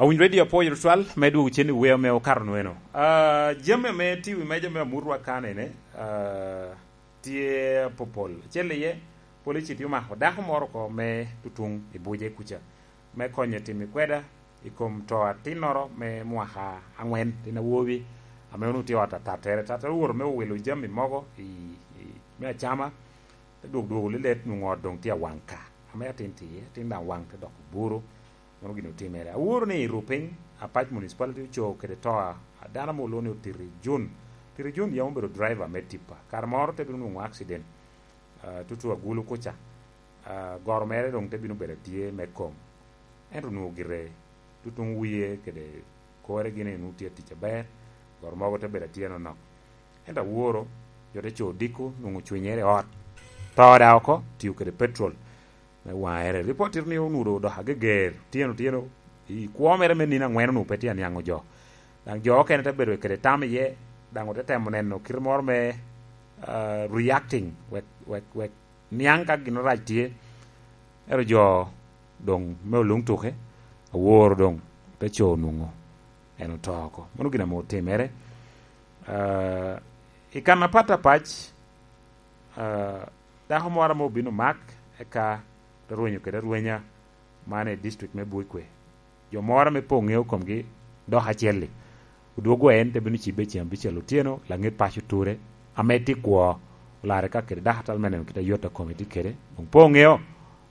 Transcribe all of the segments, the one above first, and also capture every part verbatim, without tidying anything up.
Awinyo Radio apwoyo tutwal me dwogo cen i wer me okato nweno. Ah, jami ame tye i wi meja me amutwa kanene, ah, tye apopol. Acel iye, polici tye omako dako moro oko me tutuŋ i buce kuca, me konye timo i kweda i kom to atinnoro me mwaka angwen, tin awobi, ame onwoŋo tye i ot atattere. Tattere owoto me owilo jami mogo i, i, me acama, te dwog dwogo lilet, nwoŋo ot doŋ tye awaŋ ka. Ame atin tye, atin daŋ waŋ te doko buru. Mano gin otimere. Aworo ni i Rupiny, Apac Municipality ocoo kede to a, a dano ame olwoŋo ni Otiri Jun. Otiri Jun yam obedo driver me tipa. Kare moro te bino nwoŋo accident, ah, tutu Agulu kuca. Ah, goro mere doŋ te bino bedo atye me kom. Ento onwoŋo gire tutuŋ wie kede kore gin onwoŋo tye atic aber, goro mogo te bedo atye anonok. Ento aworo, jo te co odiko, nwoŋo cwinyere i ot. To daŋ oko, tio kede petrol me waŋere. Ripot tito ni onwoŋo odoko ageger, otyeno otyeno, i kwo mere me nino angwen onwoŋo pe tye aniaŋo jo. Daŋ jo okene te bedo kede tam iye, daŋ ote temo neno kite moro me, ah, reacting, wek, wek, wek niaŋ ka gin rac tye. Ento jo doŋ me oluŋ tuke, aworo doŋ te co onwoŋo en oto oko. Mano gin ame otimere. Ah, i kan apat apac, ah, dako moro ame obino mak, eka te rwenyo kede arwenya man i district me Buikwe. Jo moro ame pe oŋeo komgi dok acel-li, odwogo en te bino cibbe ceŋ abicel otyeno, laŋet paco ture, ame tye kwo, olarre ka kede dakatal me neno kit a yot a kome tye kede, doŋ pe oŋeo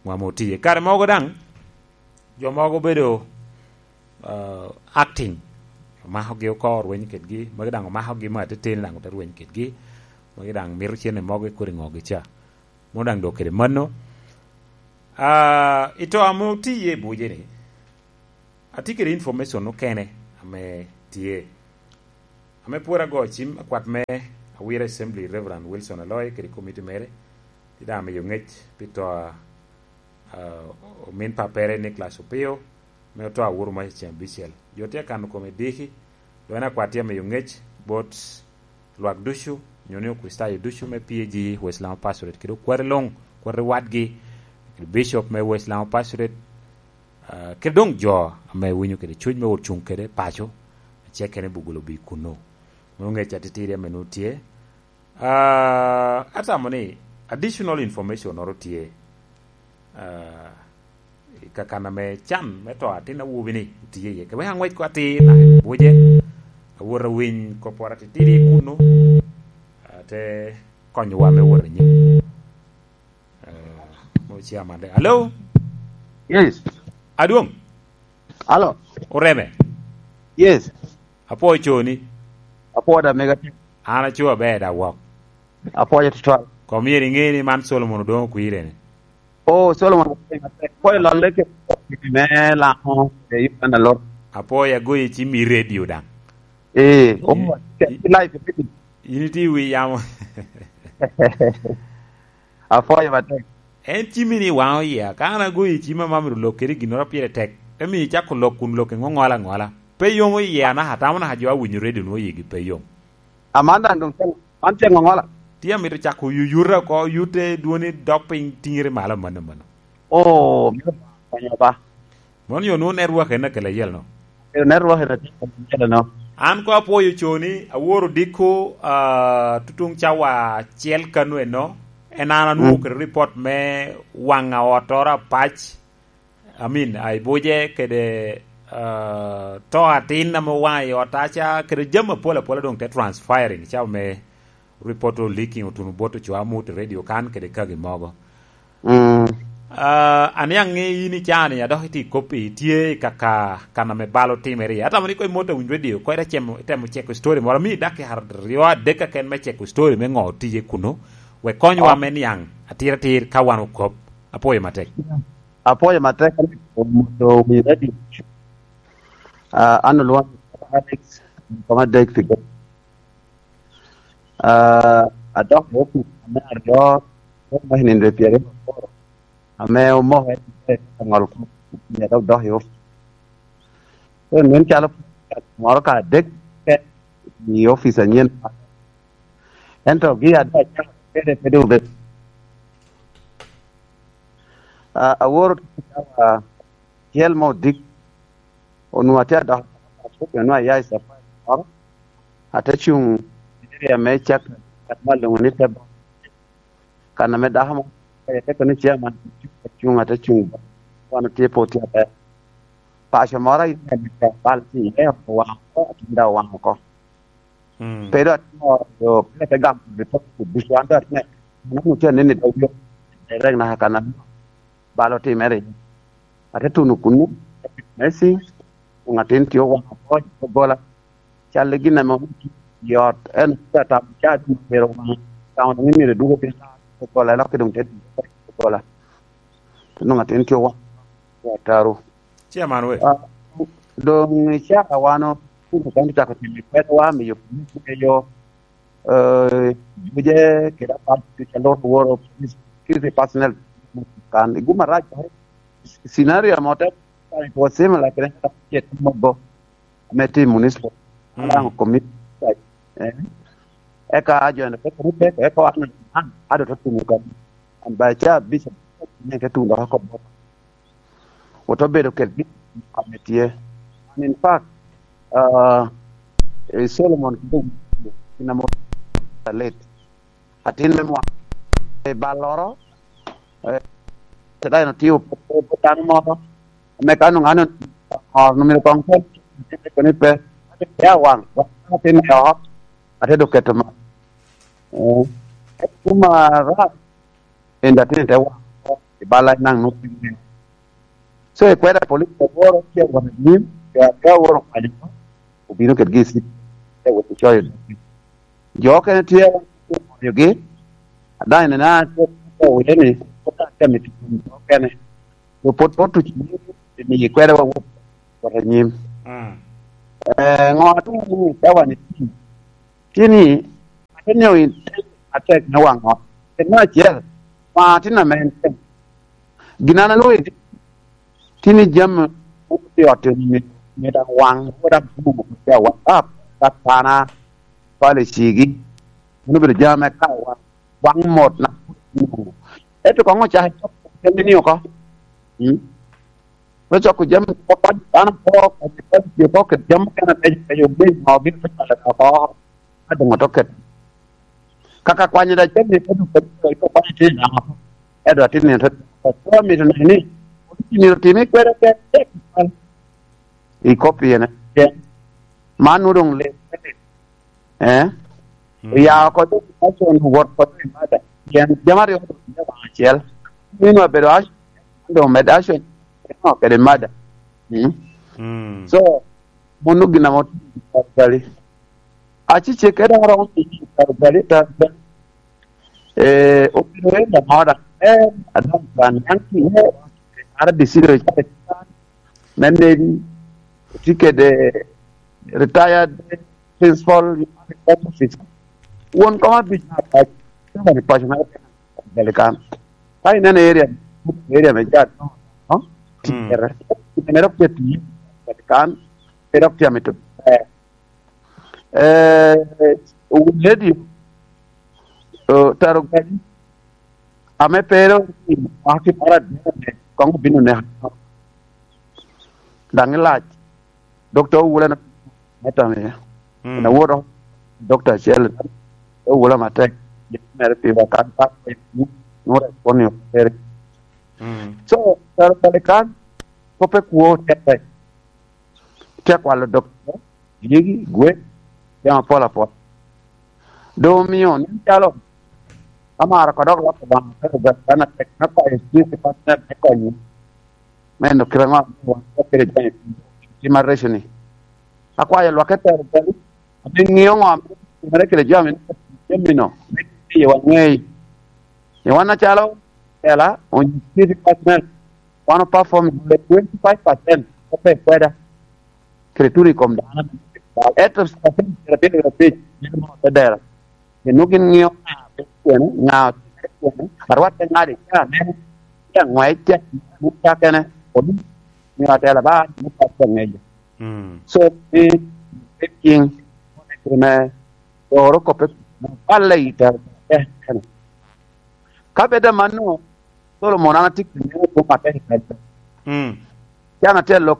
ŋo ame otiye. Kare mogo daŋ, jo mogo obedo, ah, acting, omakogi oko orweny kedgi, magi daŋ omakogi me ateteni daŋ ote rweny kedgi, magi daŋ mito cene mogo i kodi ŋogi ca. Mano daŋ dok kede mano. Ah, i to ame otiye i buce-ni, atye kede information okene ame tye. Ame pwod ago cim, akwat me Awira Assembly, Reverend Wilson Aloy, kede komiti mere, tye daŋ amiyo ŋec pi to a, ah, omin pappere Nicholas Opio, me oto awuro mac i ceŋ abicel. Jo tye akano kome diki, dok en akwat tye amiyo ŋec bot lwak ducu, nyo ni Okricitayo ducu me P A G West Lango Pastorate, kede okwati luŋ, okwati wadgi, kede Bishop me West Lango Pastorate, ah, kede doŋ jo ame winyo kede cuny me wot cuŋ kede paco, acel kene Bugulo Bii kunnu. Mano ŋec atitidi ame nwoŋo tye. Ah, atamo ni additional information oro tye, ah, i kakan ame can me to atin awobi-ni otiye iye. Kewek aŋwec ko atir naka i buce, awot awiny kopporo atitidi kunnu, ah, te konyowa me wot anyim. Ah, mo chairman de. Hello? Yes. Adwoŋ? Hello? Oreme? Yes. Apwoyo coni. Apwoyo da mega. An aco aber da wok. Apwoyo tutwal. Kom myero iŋe ni man Solomon Odoŋo Okwire-ni. Oh, Solomon Okwire, apwoyo lolle ke me Lango, e Uganda lot. Apwoyo agoyi cim i radio daŋ. Eh, oh, i, i live video. In itye i wi yamo. Apwoyo matek. En cimi ni waŋo iya. Ka an agoyi cim ame amito lok kede ginnoro pire tek, te miyo icako lok kun lok iŋo ŋola ŋola. Pe yomo iya naka, atamo naka jo awinyo radio nwoŋo yigi pe yom. Aman daŋ doŋ tye, man tye ŋoŋola. Tye amito cako yuyute oko, yute dwoni dok piny tiŋere malo amanno amanno. Oh, mito konyo ba. Mono yo nwoŋo network en akelo ayelno. Kelo network en akelo ayelno. An ko apwoyo coni, aworo diko, ah, tutuŋ cawa acel kano eno. En an anwoŋo kede report me waŋa otoro apac. I mean, a Ibuje kede, ah, to atin ame owaŋa i ot aca, kede jami apol apola doŋ te transpiring, cawa me report o leaking otuno bot ocoo amut i radio kan kede kagi mogo. Mm. Ah, aniaŋ ni in i caa-ni, a dok itye i koppi, itye i kaka kan ame bal otimere iye. Atamo ni koŋ imot awiny radio, koŋ ite cemo, itemo ceko story moro, ami dakika aryo adek keken me ceko story me ŋo otiye kuno, wek konywa me niaŋ atir atir ka wan okop. Apwoyo matek. Apwoyo matek, omot awiny radio. Ah, an olwoŋo Alex, koma Dek Figo. Ah, adok i opic ame aryo, me nino pyeraryo aboro, ame omoko en i aŋol kom, omio adok dok i opic. Koro nen calo moro ka adek keken i opic anyen. Ento gi adaŋ acako kede pe doŋ obedo. Ah, aworo cawa acel me odiko, Onwoŋo atye adok, onwoŋo aya i safari moro, ate cuŋ i area me Cak, kan ma lwoŋo ni Tebo. Kan ame dako mo, ate kono ni chairman, cuŋ, ate cuŋ, wan otye pe otye aber. Paco moro aye bal tye iye, owaŋ oko, atin daŋ owaŋ oko. Mm. Pe dok atimo yo, pe ate gamo report kuducu, an dok atye, an onwoŋo tye aneno i dog yo, direct naka kan ame bal otimere iye. Ate tuno kuno, me cing, onwoŋo atin tye owaŋ oko i doggola. Cal i gin ame omio i ot, en tye atamo caa doŋ myero owaŋ, tamo doŋ myero edwogo piny doggola, elok doŋ te dwogo doggola. Te nwoŋo atin tye owaŋ, tye ataro. Chairman we. Ah, doŋ i caa wan otuno kan ocako timo kwedwa, miyo police me yo, eh, juje kede apat ducu a lworo woro police, security personnel kan. I gum arac, scenario amo te, it was similar kede ŋat acel mogo ame tye i municipal. Mm. Alaŋo community. Eh. Eka jo ene peko ni peko, eka wan, an, ado to tumo kan. An ba ca bishop, ne te tuno dok oko bot. Oto bedo kedgi, ame tye. And in fact, uh, eh, Solomon kede kin amo late. Atin me mwa, eh, balloro, eh, te dano tye opo-, opo dano moro, ame ka nongo an onwoŋo myero koŋ kel, ate peko ni pe, ate pe awaŋ, atin me oko, ate dok keto ma. Eh, kuma rac, en atin te waŋ oko, i bal a naŋ nwoŋo piny. So, i kweda police aworo tye awot anyim, jo ame aworo kwanyo, obino kedgi i city, te wot ocoyo doggi. Jo okene tye, okonyogi, adaŋ ineno an tye ka wile ni, pwod atye amito jo okene. Jo pwod, pwod tuc nyim, imi kweda wawot, wot anyim. Mm. Eh, ŋo atin ni cawa ni tin? Tin ni, ate nyo in atek me waŋ ot. Pi me acel, waŋ atin ame en tin. Gin an alwoŋo i tin ni jami mogo tye i ot ni, ni daŋ waŋ, wot abuŋo, tye awaŋ, ah, pat pana, pala i cigi. Mano obedo jami ame ka waŋ, waŋ mot na. Ento koŋ ocako coko jami ni oko. Mm. Me coko jami oko, dano oko, oko, oko, kede jami mukene beco, beco, obin ŋo, obin oko, oko, oko. Ka doŋ oto ket. Kaka kwanyo da jami, ka doŋ ket, ka kwanyo tye i namo. Edo atin ni, to, to, to, mito neno ni, myero otimi kwede tek, tek, i kop pien, man nwoŋo doŋ lit. Eh? Mm. Oya oko doŋ action, wot oko i mada. Pien jami aryo doŋ tye waŋ acel. Mino abedo action, doŋ med action, no, kede mada. Mm. Mm. So, mano gin ame otim i Kalvari. Acecek kede aromo i Kalvari, Kalvari. Eh, obedo en da moda. Eh, adon kan, yan ki, eh, R D C do, me Navy, otye kede retired principal, won kom abic me apac, tye won i paco mere Balikan. Ka ineno area, area me jat, no? Mm. Tikere. Mere ok tye tiyo Balikan, mere ok tye amito. Eh, eh, lady, eh, taro gari, ame pe ero mwaki moro adek, koŋ obino neka. Daŋ ilac. Dokta Owula na, me tamo iye. Mm. Na woto, Dokta acel, Owula matek, mere piwa kan, pa, nwoŋo respond ni ok tere. Mm. So, taro Balikan, kope kwo tek tek. Tye akwalo dokta, dyegi, gwek, jami apol apol. Doŋ omio, nen calo, amaro ka dok loko Obaŋa, ka Obaŋa, kan atek, me kwayo Spirit Department me konyo. Me eno kite ŋo ame wan kede jami, tim arreco ni. Akwayo lwak etero bali, ame ŋeo ŋo ame timere kede jami, jami no, me miyo waŋei. Ni wan acalo, tela, onyo Spirit Department, wan o perform twenty-five percent ope kweda. Kede tuno i kom dano. Ento, percent pyerabiro wiye abic, mito mono te dero. Pien nwoŋo gin ŋeo ŋa obedo kwene, ŋa otimere kwene, arwatte ŋadi, ka aneno, ka aŋwec, ka aneno cakene, obi, nyo atela ba, nyo pat ka ŋeyo. Mm. So, ni, ni king, kite me doro koppe, balle i tero, eh, eh. Ka bed amanno, Solomon, an atye ka neno kwo matek i kare. Mm. Can atye lok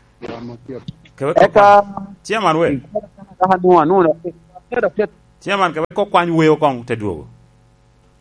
Kebe kok Eka kwany. Chairman we. Eka nwa, nwa, nwa, Chairman, kebe kok kwany weo kong te dwogo.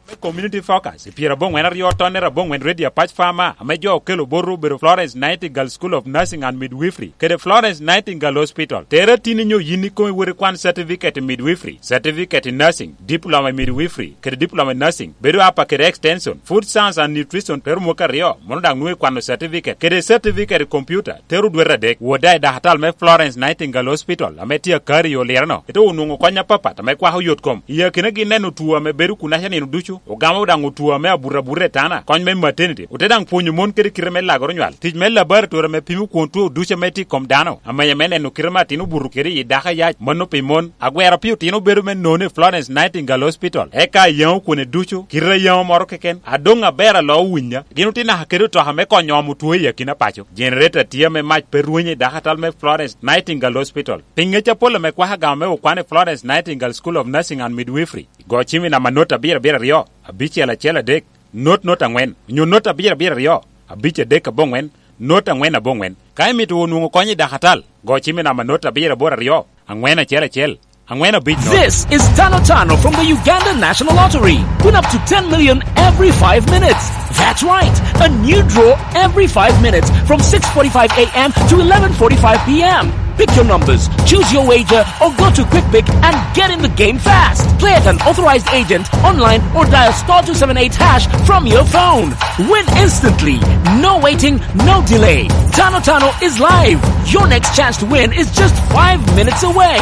Me Community Focus, i pyerabongwen aryo tonne rabongwen Radio Apac Farmer, ame jo okelo botwu obedo Florence Nightingale School of Nursing and Midwifery, kede Florence Nightingale Hospital. Tere tin inyo yin ikome wot ikwan certificate i midwifery, certificate i nursing, diploma i midwifery, kede diploma i nursing, bedo apa kede extension, food science and nutrition, tero mwaka aryo, mono daŋ nwoŋo ikwano certificate, kede certificate i computer, tero dwete adek. Wot daŋ i dakatal me Florence Nightingale Hospital, ame tye akari i Olireno, ite onwoŋo kony apapat ame kwako yot kom. I akinagi neno two ame bedo kunaca nino ducu, ogamo daŋ two ame abuto abuta i tana, kony me maternity, ote daŋ pwonyo mon kede kite me lagoro nywal, tic me laboratory ame pimo kwon two ducu ame tye i kom dano, amenya me neno kite me atin obuto kede i dako ayac, mano pi mon, agwero pi otino bedo me nono i Florence Nightingale Hospital, eka ayaŋo kwone ducu, kite ayaŋo moro keken, adoŋ aber alo owinya, gin otye naka kede otoka me konyo omo two i akina paco. Generator tye ame mac pe rwenyo i dakatal me Florence Nightingale Hospital. Pi ŋec apol ame kwako agama me okwan i Florence Nightingale School of Nursing and Midwifery, go cim i namba not abiro abiro aryo, abicel acel adek, not not angwen, onyo not abiro abiro aryo, abic adek abongwen, not angwen abongwen. Ka imito onwoŋo kony i dakatal, go cim i namba not abiro aboro aryo, angwen acel acel, angwen abic not. This is Tano Tano from the Uganda National Lottery. Win up to ten million every five minutes. That's right. A new draw every five minutes from six forty-five a m to eleven forty-five p m. Pick your numbers, choose your wager, or go to QuickPick and get in the game fast. Play at an authorized agent, online, or dial star two seven eight hash from your phone. Win instantly. No waiting, no delay. Tano Tano is live. Your next chance to win is just five minutes away.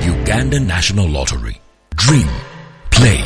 Uganda National Lottery. Dream, play,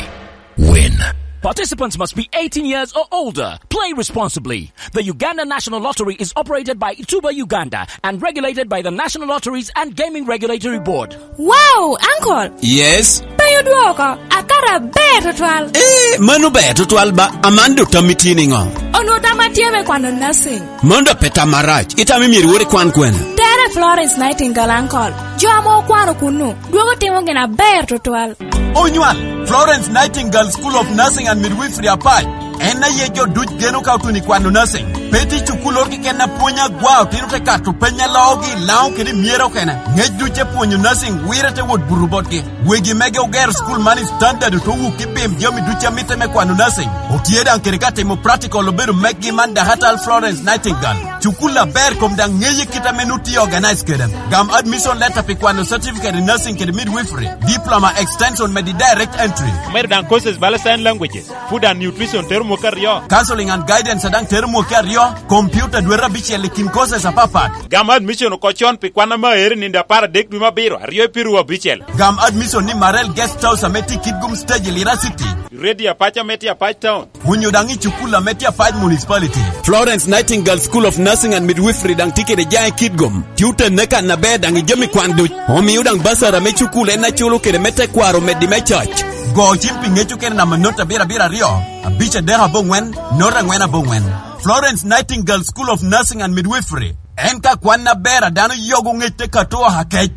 win. Participants must be eighteen years or older. Play responsibly. The Uganda National Lottery is operated by Tuba Uganda and regulated by the National Lotteries and Gaming Regulatory Board. Wow, uncle! Yes? Pe odwoko, akato aber tutwal. Eh, mano ber tutwal ba, Amanda, tammi tye niŋo? Onwoŋo tamma tye me kwano nursing. Mano dok pe tam marac, itamo myero iwot ikwan kwene? Tere Florence Nightingale, uncle. Jo ame okwano kunnu, dwogo timo gin aber tutwal. Onywal, Florence Nightingale School of Nursing and Midwifery Apac. En aye jo duc geno ka otuno i kwano nursing. Pe tye cukulloro keken a pwony agwa otino te kato peny a loogi i Laŋo kede i myero okene. Ŋec duc te pwonyo nursing wire te wot buto botgi. Wegi mege ogero cukul man i standard ote wuk i pim jami duc a mitte me kwano nursing. Otye daŋ kede ka timo practical obedo mekgi man dakatal Florence Nightingale. Cukul aber kom daŋ ŋeye kit ame nut tye organize kede. Gam admission letter pi kwano certificate in nursing kede midwifery, diploma extension medi direct entry. Omedo daŋ courses bala sign languages, food and nutrition tero mwaka aryo. Counseling and guidance a daŋ tero mwaka aryo. Computer dwete abicel i kin courses apapat. Gam admission oko con pi kwan ame aero i nino apar adek dwe me abiro, aryo i piru abicel. Gam admission ni Marel Guest House ame tye i Kitgum Stage i Lira City. Radio Apac ame tye Apac Town. Onyo daŋ i cukul ame tye Apac Municipality. Florence Nightingale School of Nursing and Midwifery daŋ tye kede jaŋ i Kitgum. Tye otenne kan aber daŋ i jami kwan duc. Omio daŋ basar ame cukul en aculo kede me tekwaro meddi me coc. Go cim pi ŋec okene namba not abiro abiro aryo, abic adek aboŋwen, not angwen aboŋwen. Florence Nightingale School of Nursing and Midwifery. En ka kwan aber a dano yogo ŋec te kato oha kec.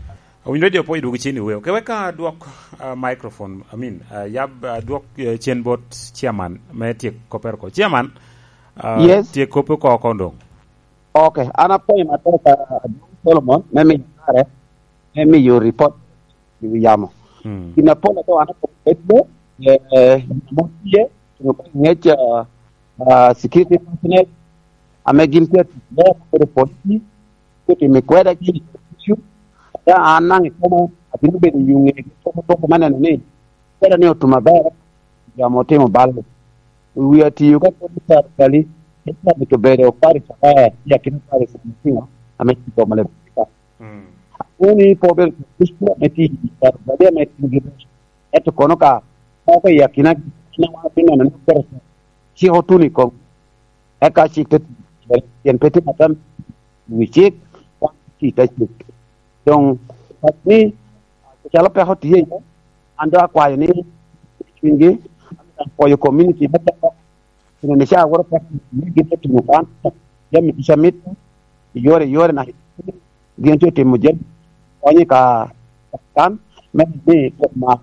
Owinyo radio po idwogo cini weo. Ke wek adwok, ah, microphone, I mean, ah, yab, ah, dwok, eh, cen bot chairman me tyek koppere oko. Chairman, ah, Yes. Tyek koppe oko oko doŋ. Ok, an apwoyo matek, ah, Adwong Solomon, me miyo kare, me miyo report i wi yamo. Mm. Gin apol ato an akobo bedo, eh, eh, gin amo tye, gin oko i ŋec, ah, ah, security personnel, ame gin tye atic, me akobo polisi, otimo i kweda gin i issue, ata an naŋ i koma, abino bedo i ŋegi, poko poko me neno ni, kweda ni otum aber, jo ame otimo bal. Wi atiyo ka kodi Sarikali, eka mito bedo parish aber, i akina parish ame tino, ame tye i boma Lebika. Mm. Akwano ni pe obedo bishop ame tye i Sarikali ame tye gi bishop. Ento kono ka moko i akina gin ame wan atye neno ni oketo cik otuno i kom. Eka cik te tye, pien pe tye atam i wi cik, wan tye i te cik. Doŋ, ni, calo peko tye iye, an doŋ akwayo ni, cwinygi, apwoyo community me peko, pi neno ca woro peko, ni gin te timo kan, jami ducu amit, i yore, i yore na, gin te timo jami, konyo ka, kan, me ni, ma,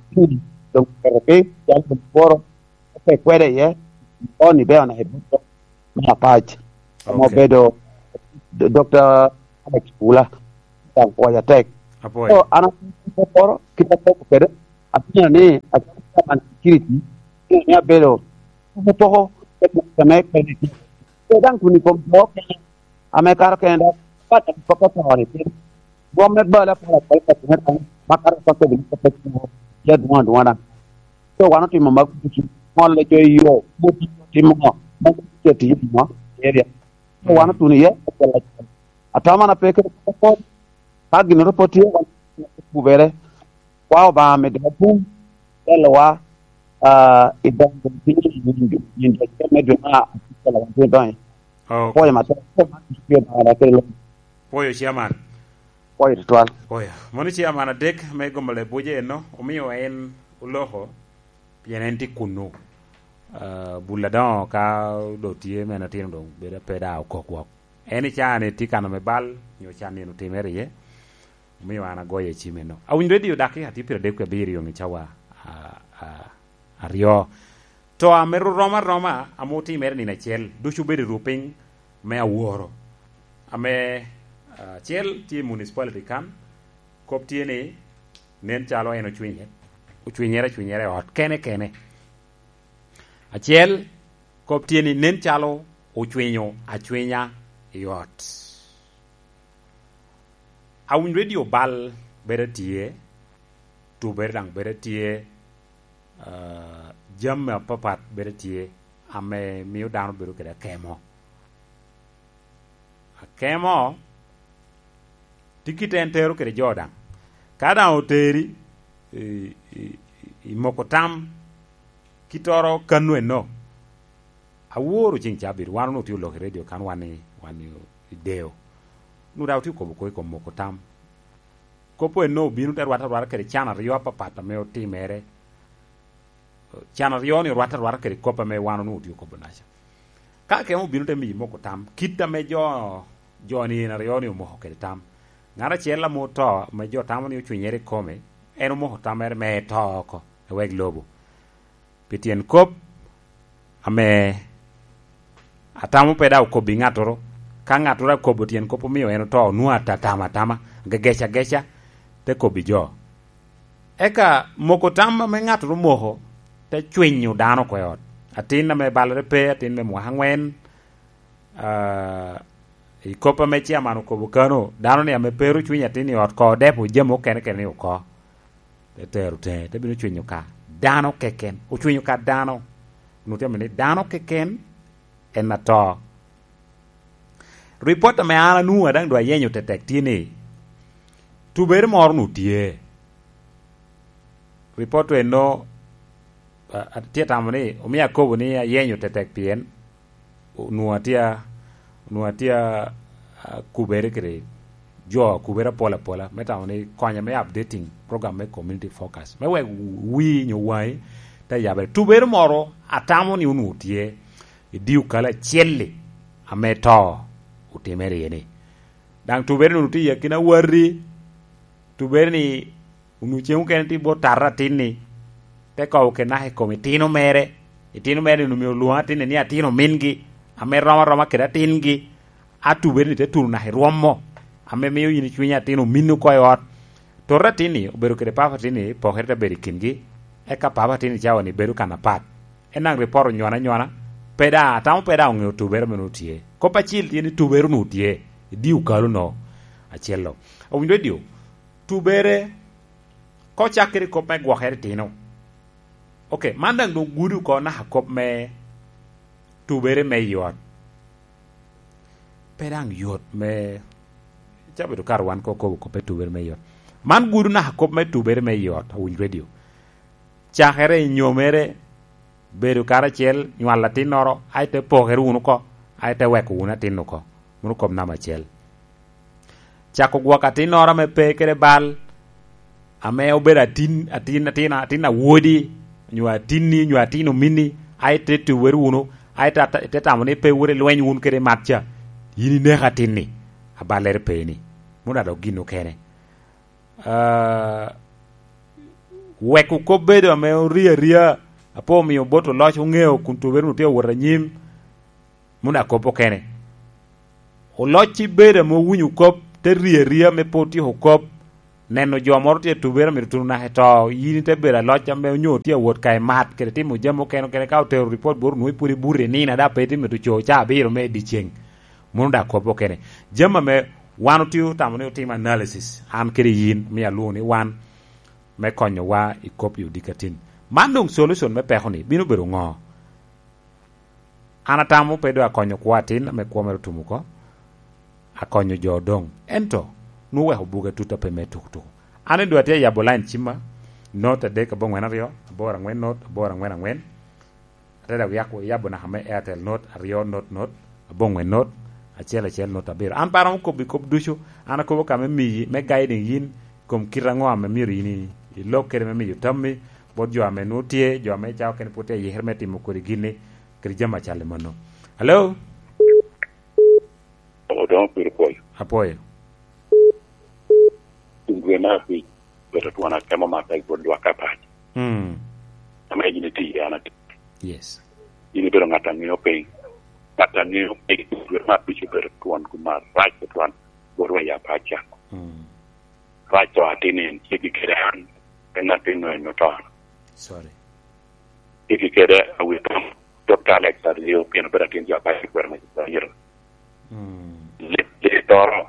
doŋ, peko pe, calo doŋ woro, pe kwede iye, oni be ona i buto me Apac. Ame Ok. Obedo D-, Doctor Alex Pula, daŋ pwoyo atek. Apwoyo. So, an akobo kit akobo kede, atye ni, acalo chairman security, ni abedo poko poko, me buto me kede. So, daŋ kun i kom jo okene, ame kato kene dok, pat a kop atoni piny. Gwom me bal apol apol ka tine kan, ma kato ka kobbi ni kop atwo, ya dwon adwona. So wan otimo mag kucu, ŋolo jo i yo, mot timo ŋo, ma kucu tye timo ŋo, area. So wan otuno iye, acel acel. Atamo na pe kede kop apol, ka gin oro pe tye, wan kubere, kwa Obaŋa medo wa bum, telowa, ah, i dongo piny i nyin, nyin dwe me dwe me abic, wan tye dongo. Ok. Apwoyo matek, apwoyo man tye Obaŋa da kede lweny. Pwoyo, Chairman. Pwoyo tutwal. Pwoyo. Moni Chairman adek me Gombo Lebuja eno, omio en oloko, pien en tye kunnu. Ah, bul adoŋo ka doŋ tye men atino doŋ bedo pe da okok wok. En i caa-ni tye kano me bal, nyo can nino otimere iye. Omio an agoyo i cim eno. Awinyo Radio Dakika tye pyeradek wie abiro i cawa, ah, ah, aryo. To ame ru-, rom aroma ame otimere nino acel, ducu obedo i ruu piny me aworo. Ame, ah, acel tye i municipality kan, kop tye ni nen calo en ocwinye, ocwinyere acwinyere i ot kene kene. Acel, kop tye ni nen calo ocwinyo acwinya i ot. Awinyo Radio bal bedo tye, tubere daŋ bedo tye, ah, jami apapat bedo tye ame mio dano bedo kede akemo. Akemo tye kit en tero kede jo daŋ. Ka daŋ oteri i, i, i moko tam, kittoro kano eno, aworo ceng cabit, wan onwoŋo tye olok i radio kan wan i, wan i, i Deo. Onwoŋo daŋ otye okobo kwo i kom moko tam. Kop eno obino te rwatte arwata kede can aryo apapat ame otimere. Can aryo-ni orwatte arwata kede kop ame wan onwoŋo otye okobo naca. Ka akemo obino te miyi moko tam, kit ame jo, jo-ni en aryo-ni omoko kede tam. Ŋat acel ame oto, ame jo tamo ni ocwinyere i kome, en omoko tammere me to oko, ewek lobo. Pi tyen kop ame atamo pe daŋ okobbi ŋattoro. Ka ŋattoro akobo tyen kop omio en oto, onwoŋo atatamo atama, gegeca ageca, te kobbi jo. Eka moko tam ame ŋattoro omoko, te cwinyo dano oko i ot. Atin ame balere pe, atin me mwaka aŋwen, ah, i kop ame chairman okobo kano, dano ni ame pe ru cwinyo atin i ot, ko odepo jami okene kene ni oko. Te tero teŋe, te bino cwinyo ka dano keken. Ocwinyo ka dano. Onwoŋo tye ni dano keken en ato. Ripot ame an anwoŋo a daŋ dwa yenyo tetek tye ni, tubere moro nu tye. Ripot eno, a-, a-, tye tamo ni, omio akobo ni ayenyo tetek pien onwoŋo atye a-, onwoŋo atye a-, akubere kede jo akubere apol apola, me tamo ni konya me updating program me Community Focus, me wek wi nyo waŋi te yabere. Tubere moro atamo ni onwoŋo tye i dye okalo acel-li ame to otimere iye-ni. Daŋ tubere-ni onwoŋo tye i akina wati, tubere-ni onwoŋo cen mukene tye bot tarre atin-ni, te kobo kede naka i kom itino mere. Itino mere-ni onwoŋo myero olwoŋ atin-ni ni atin omingi, ame rom aroma kede atingi. A tubere-ni te tuno naka i rwom mo, ame mio yin icwinyo atin ominni oko i ot. Torre atin-ni obedo kede papa atin-ni, pokere te bedo i kingi, eka papa atin-ni cawa-ni bedo kan apat. En daŋ ripot onywona anywona, pe daŋ, atamo pe daŋ oŋeo tubere ame onwoŋo tye. Kop acil tye ni tubere onwoŋo tye i dye okalo-nu acel-lo. Owinyo redio, tubere, ka ocak kede kop me gwokere itino. Ok, man daŋ doŋ gudo oko naka kop me tubere me i ot. Pe daŋ yot me, ca bedo kara wan ka okobo kop me tubere me i ot. Man gudo naka kop me tubere me i ot, Owiny Radio. Cakere i nyomere, bedo karacel, nywalo atinnoro, ai te pokere wunu oko, ai te weko wunu atin oko. Mano kop namba acel. Cako gwoko atinnoro ame pe kede bal, ame obedo atin, atin, atin, atin awodi, nyo atinni, nyo atin ominni, ai te tubere wunu, ai te, te tamo ni pe wot i lweny wun kede mat ca, yin ineko atinni, aballere pe ni. Mano adok gin okene. Ah, weko kop bedo ame orie aria, ape omio bot oloc oŋeo kun tubere-nu tye awot anyim, mano akop okene. Oloc ci bedo ame owinyo kop, te rie aria me pe otyeko kop, neno jo moro tye tubere amito tuno naka i to, yin ite bedo aloc ame onyo tye awot ka i mat, kede timo jami okene okene, ka otero ripot bot onwoŋo pwod ibuto i nino, ada pe itye mito co ca abiro me i dyeceng. Mano daŋ kop okene. Jami ame wan otye otamo ni otim analysis, an kede yin, omio alwoŋo ni wan, me konyowa i kop i odikatin. Man doŋ solution me peko-ni bino bedo ŋo? An atamo pe doŋ akonyo kwo atin ame kwo mere otum oko, akonyo jo odoŋ. Ento, nwoŋo weko buga tut ape me tukutuku. An doŋ atye ayabo line cimma, not adek aboŋwen aryo, aboro aŋwen not, aboro aŋwen aŋwen. Ate daŋ yako, yabo naka me Airtel not aryo not not, aboŋwen not, acel acel not abiro. An pe aromo kobbi kop ducu, an akobo ka me miyi, me guiding yin, kom kite aŋo ame myero yin i-, ilok kede me miyo tammi, bot jo ame nwoŋo tye, jo ame cawa okene pwod tye ayikere me timo kodi gin-ni, kede jami acal i mano. Hello? Odoŋo piri pwoyo. Apwoyo. Kun dwe me abic, bedo twon akemo matek bot lwak apac. Mm. Ame yin iti, an ati. Yes. Yin ibedo ŋat a ŋeo piny. Ŋat a ŋeo piny, kun dwe me abic obedo twon kuma rac tutwal bot wa i apac ca. Mm. Rac to atin en, ceggi kede an, en atin no en oto. Sorry. Ceggi kede awit tam, Dokta Alex Ario, pien obedo atin jo apac i kwero me Israel. Mm. Li-, litoro,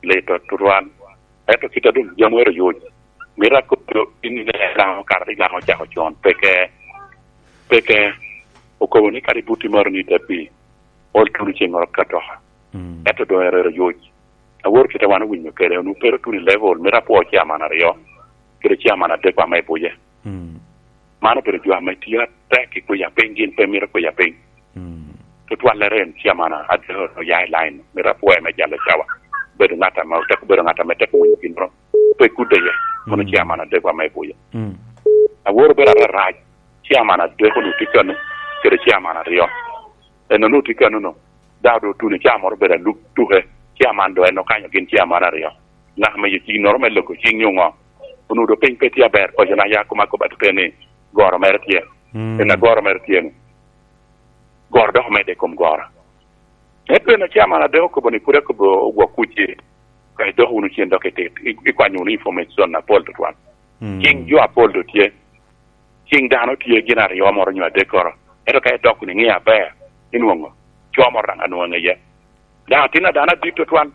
lito tutwal. Ento kit a dum jami ero yoc. Mito akobbi in ine Laŋo, kara ni Laŋo ocako con, peke, peke, okobo ni kadi buti maro ni te pi, ol tuno ceŋ oro ka toka. Mm. Ento doŋ ero, ero yoc. Awor kite wan owinyo kede, onwoŋo pe ro tuno i level, mito apwo chairman aryo, kede chairman adek ame i buye. Mm. Man obedo jo ame tio atek i kwiya piny, gin pe mito kwiya piny. Mm. Tutwallere en chairman adek oya i line, mito apwoye me jalo cawa. Bedo ŋat ame otek, bedo ŋat ame tek winyo gin ro. Pe kudde ye, kono Mm. chairman adek ame i buye. Mm. Awor obedo ararac, chairman adek onwoŋo tye kano, kede chairman aryo. En onwoŋo tye kano no, daŋ doŋ otuno ca moro obedo aluk tuke, chairman doŋ en okanyo gin chairman aryo. Naka me yecinnoro me loko cing nyo ŋo? Onwoŋo doŋ piny pe tye aber, paco na ya kuma kobo atite ni goro mere tye. Mm. En agoro mere tye ni. Goro dok omedde i kom goro. Ento en acaman adek okobo ni pwod akobo ogwok kuc-ci. Ka idok wunu cen dok itit, i-, ikwanyo wunu information apol tutwal. Mm. Cing jo apol doŋ tye. Cing dano tye gin aryo moro nyo adek koro. Ento ka idok wunu iŋeo aber, inwoŋo co moro daŋ anwoŋo iye. Daŋ atin a dano adit tutwal.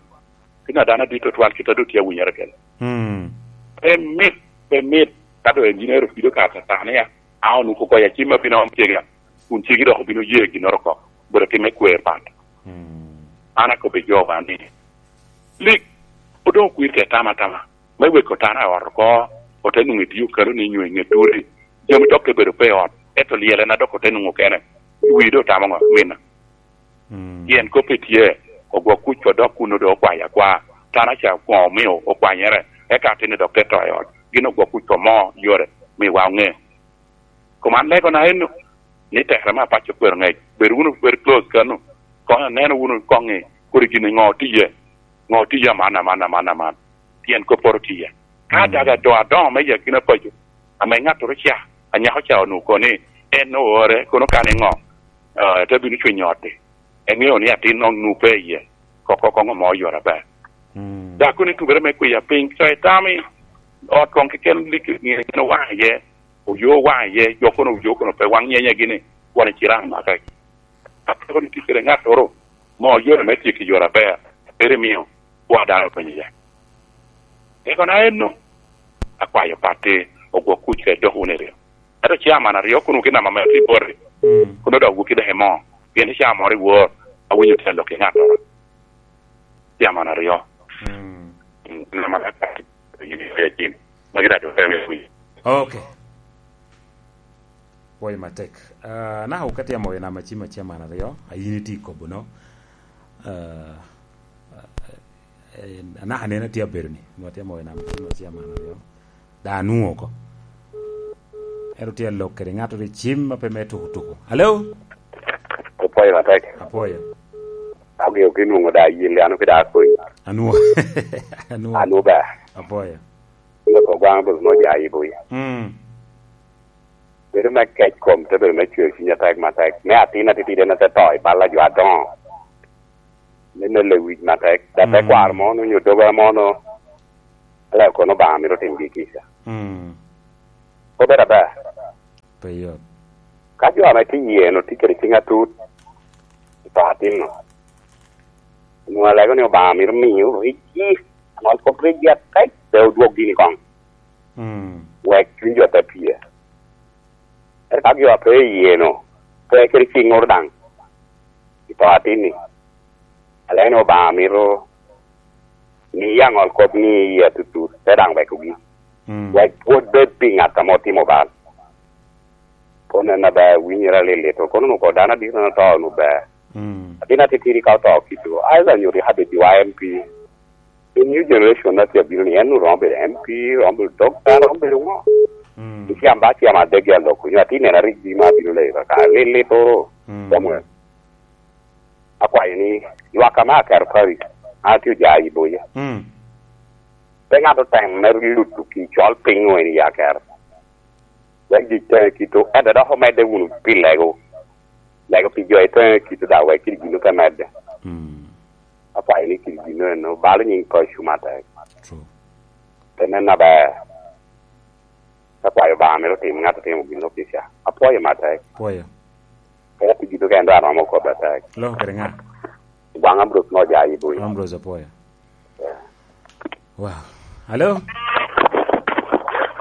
Atin a dano adit tutwal, kit a doŋ tye awinyere kede. Mm. Pe mit, pe mit, ka doŋ en yin ero pido ka Catan ya. A onwoŋo kokoyo acim abino om cega, kun cegi dok obino ye ginnoro oko, obedo tim me kwer pat. Mm. An akobbi jowa ni, lik, odoŋ okwir ka itama atama, me weko tana i ot oko, ote nwoŋo itio kalo ni nyo i ŋet odi, jami dok te bedo pe i ot, ento lyelena dok ote nwoŋo kene, wi doŋ otamo ŋo, mina? Mm. Pien kop pe tye, ogwok kuc odok kun doŋ okwayo akwa, tana ca koŋo omio okwanyere, eka atinni dok te to i ot, gin ogwok kuc omo yore, miwa oŋe. Kom an legona eno, ni tekere me apaco kwero ŋec, bed wunu very close kano, koŋ aneno wunu koŋ i kodi gin i ŋo otiye, ŋo otiye aman, aman, aman, aman, pien kopporo otiye. Ka Mm. daga do adoŋo me yakina paco, ame ŋattoro ca, anyako ca onwoŋo kono ni en oore, kono kan i ŋo, eh, te bino cwinyo ot-ti. Eŋeo ni atin onwoŋo pe iye, koko koŋ omo yore aber. Mm. Dako ni tubere me kwiya piny, so itami, ot koŋ keken lik ŋe gin owaŋ iye, oyo owaŋ iye, jo kono oyo kono pe waŋ nyenye gini, wan icira amaka. Apeko ni tye kede ŋattoro, mo yore me tyeko yore aber, ere mio kwa dano penyo iye. Eko na enno, akwayo patti, ogwok kuc ka idok wunu i ryo. Ento ciaman aryo kun wokina ame tye boti, Mm. kun odok wokki dok imo, pien i caa moro i wor, awinyo tye lok i ŋattoro. Ciaman aryo. Mm. Mm, nama ka yin i cin. Magi dac ote me winyo. Ok. Pwoyo matek. Ah, naka ka tye amoyo nama cim acem an aryo, a yin itye i kobo no. Ah, eh, anaka nen atye abedo ni, nwa tye amoyo nama cim acem an aryo. Da anwoŋo oko. Ento tye alok kede ŋato ri cim a pe me tuko tuko. Alo? Opwoyo matek. Apwoyo. Ageo ki nwoŋo da yelle, ano ki da akonyi. Anwoŋo. Anwoŋo. Anwoŋo ber. Apwoyo. Ŋot ogwaŋ bot mo ja yibo ya. Mm. Bedo me kec kom te bedo me cwer cwiny atek matek. Me atin atitidi en ate to i bal a jo adoŋo. Me mel lewic matek. Da te Mm. kwaro mo no, nyo doga mo no. Ala kono Obaŋa mito tim gi kica. Mm. Obedo aber. Pe yot. Ka jo ame tye i yie-nu tye kede ciŋ atut, i to atin-nu, onwoŋo alego ni Obaŋa mito miyo ricci, aŋol kop ricci atek, pe odwog gini koŋ. Mm. Wek cwiny jo te pye. Ento ka jo a pe i yie-nu, pe kede ciŋŋoro daŋ, i to atin-ni, alego ni Obaŋa mito miye aŋol kop ni i yie atutut, te daŋ wekogi. Mm. Wek pwod bed pi ŋat ame otimo bal. Kono en aber, winyere alilit, kono onwoŋo dano adit en oto onwoŋo ber. Mm. Atin atitidi ka oto kido, either nyo rik abed wa M P. I new generation na tye abino ni, en oromo bedo M P, romo bedo doctor, romo bedo ŋo? Mm. Icam ba cam adek ya lok, nyo atin en arik bi ma abino leyo kaka, alilit oro, Mm. Samuel. Akwayo ni, ywak ame aketo parish, an atye oja i boya. Mm. Pe ŋat otem me luto ki col piny o en i aketo. Wek jic teŋe kito, ento dok omedde wunu pi lego. Lego pi jo i teŋe kito da wek kidi gin pe medde. Mm. Akwayo ni kidi gin eno, balo nyiŋ paco matek. True. Pe nen aber. Akwayo Obaŋa mito tim ŋat otimo gin opica. Apwoyo matek. Pwoyo. Eka pi gin okene dok aromo kobbe atek. Loko kede ŋa? Gwaŋ Ambrose mo ja i Buya. Ambrose apwoyo. Yeah. Wow. Alo?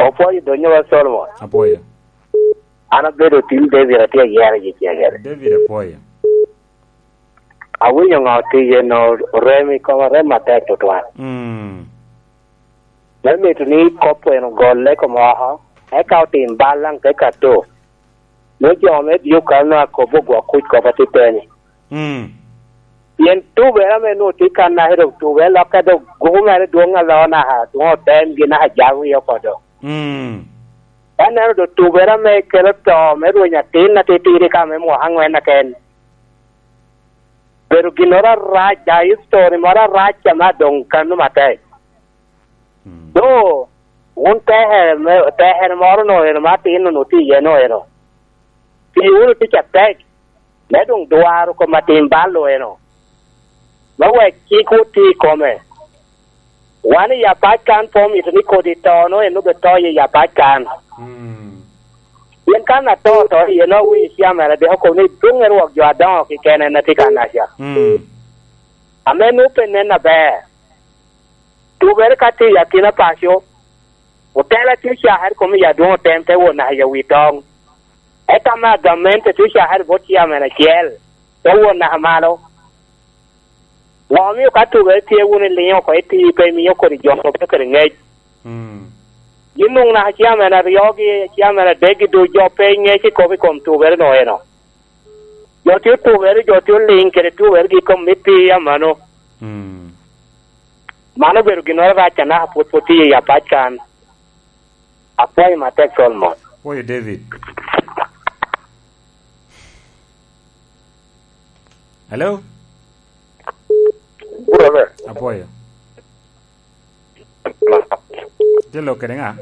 Opwoyo donyo wa Solomon. Apwoyo. An abedo tim David atye ayero yi cegere. David apwoyo. Awinyo ŋo tiye no rem i koma, rem matek tutwal. Mm. Me mito ni kop en ogolle kom oko, eka otim bal daŋ te kato. Me jo me Dyuka nwa kobo gwok kuc kop atiteni. Mm. Pien tubere ame nwoŋo tye kan naka dok tubere lokke dok guku mere dwoŋ aloo naka dwoŋ otemgi naka jal wie oko dok. Mm. Ka neno dok tubere ame kelo to me rweny atin atitidi ka me mwaka aŋwen aken. Bedo ginnoro arac, a history moro arac ame adoŋ kano matek. Mm. Do, wun tekere me, tekere moro no eno ma atin onwoŋo tye iye no eno. Ti wunu tic atek, me doŋ dwaro kom atim bal eno. Me wek cik oti i kome. Wan i apac kan pe omito ni kodi to no en obed to i apac kan. Mm. Pien kan ato to iye no awinyo ci amera dek okobo ni dwoŋ en wok jo adoŋo keken en atye kan aca. Mm. Ame nwoŋo pe nen aber. Tubere ka tye i akina paco, otela tye cakere kom i adwoŋ otem te wot naka i awi toŋ. Eka me agamente tye cakere bot ciamen acel, te wot naka malo. Ŋo omio ka tubere tye wun iliŋo oko i tii pe imio kodi jo kop kede ŋec? Mm. Gin nwoŋo naka ciamen aryogi, ciamen adekgi duc jo pe ŋec i kop i kom tubere no eno. Jo tye otubere, jo tye oliŋ kede tubergi i kom me tii amano. Mm. Mano obedo ginnoro arac anaka pwod pwod tye i apac kan. Apwoyo matek Solomon. Apwoyo David. Hello? Brother. Apwoyo. Tye lok kede ŋa?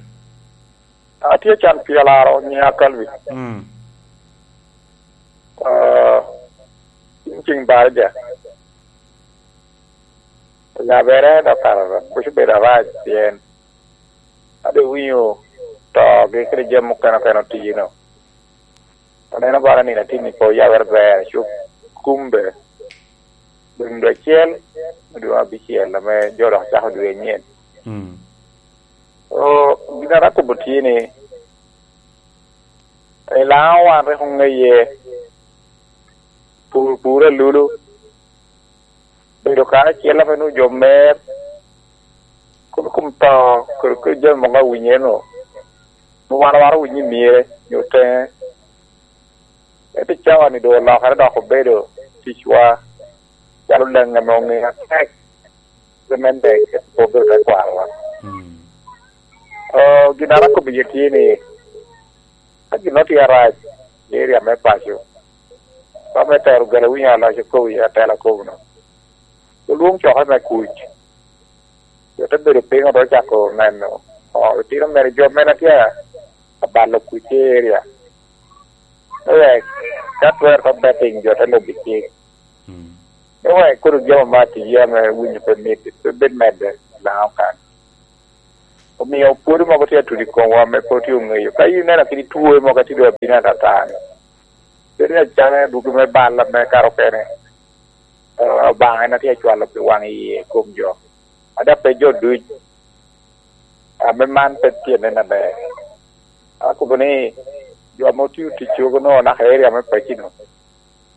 Atye can pi alaro nyiŋa Calvin. Mm. Ah, in ceng barija. Onyabere dok kara kuc obedo arac pien ade winyo togi kede jami mukene okene otiyo no. Aneno bala nino atin ni po yawere ber, cuk kumbe. Doŋ dwe acel, me dwe me abicel, ame jo dok cako dwe anyen. Mm. O, gin a rak kobo tye ni, i Laŋo wan rik oŋeye, pur, pur alulu, bedo karacel ame nwoŋo jo mer, kop i kom to, kede, kede jami mogo awinyo eno, wan waro winyo i myere, nyo teŋe. Ento cawa-ni doŋ olokere dok obedo ticwa, calo leŋ ame oŋeo atek, pi me nek, obedo te kwarowa. Mm. O, gin a rak kobo iye tye ni, ka gin otye arac i area me paco, ka me tero gala winyo aloc okobo iye atela kobo no, olwoŋ coke me kuc. Jo te bedo piny, ote cako neno, o, itino mere jo mene tye abalo kuc i area. Me wek, ka twero to betting, jo te lubo i cik. Mm. Me wek kono jami me atiya ame winyo pe mit, pe bed medde i Laŋo kan. Omio pwod mogo tye atudo i komwa ame pe otye oŋeyo. Ka in ineno kadi two mogo atye doŋ abino atata-ni, bedo ni acalo dwogo me bal ame kato okene, eh, Obaŋa en atye acwalo pi waŋ iye i kom jo. Ada pe jo duc, ame man pe tye nen aber. Akobo ni, jo ame otio tic cogo no naka area me pacino,